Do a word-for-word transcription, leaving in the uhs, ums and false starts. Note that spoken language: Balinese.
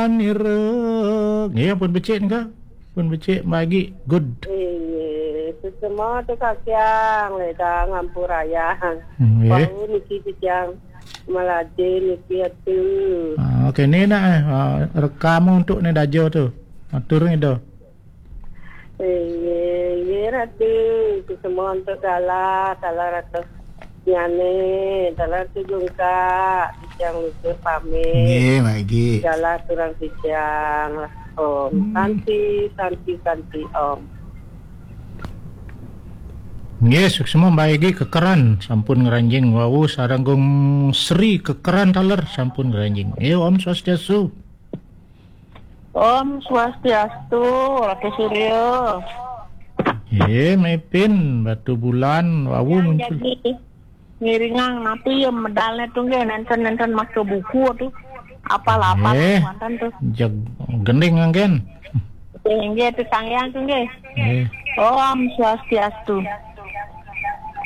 Nira. Nggih, ampun becik nika. Ampun becik Mbak Egi. Good. Nggih, sesemua tu kakiang le dah ngampurayang. Nggih. Bau niki kejang. Melade niki atu. Ah, okey, ni nak eh, ah, rekam untuk ni dajo tu. Atur ni dah. Nggih, nggih, Ratu. Sesemua untuk dalah, dalah ratus nyane, dalah tu jungkak, kejang lutur pamit. Nggih, Mbak Egi. Dalah turang kejang lah. Om. Hmm. Santi, santi, santi, om. Nggih, suksma Mbak Egi Kekeran, sampun ngranjing wau sareng Gung Sri Kekeran taler sampun ngranjing. Nggih, Om Swastiastu. Om Swastiastu, Ratu Surya. Nggih, mepin Batu Bulan wau muncul. Jadi ngiringang napi ya medalnya tu nggih, nenten-nenten maca buku tu. Apal-apal eh, mantan tu. Jeg gending anggen. Nggih, tu tangyang tu nggih. Eh. Om Swastiastu.